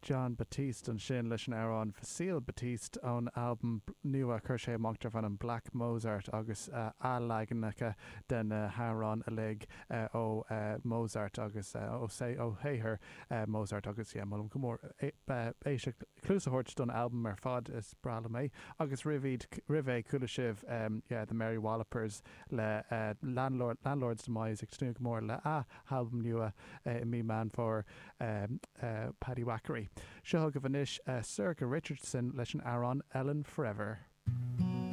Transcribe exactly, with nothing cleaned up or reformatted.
Jon Batiste ansin leis an amhrán Facile Batiste ón albam nua chuir sé amach darb ainm Black Mozart agus uh, athleaganacha den uh, hamhráin uilig uh, ó uh, Mozart agus uh, ó sé ó shaothar uh, Mozart agus yeah, molaim go mór éisteacht cluas a thabhairt don albam ar fad is breá liom é agus roimh roimh é chuala sibh um, yeah, the Mary Wallopers le uh, Landlord Landlord's Demise ag tnúth go mór le a albam nua uh, i mí Meán Fómhair um, uh, Paddywhackery. Seo chugaibh anois uh, Sorcha Richardson leis an amhrán Ellen Forever.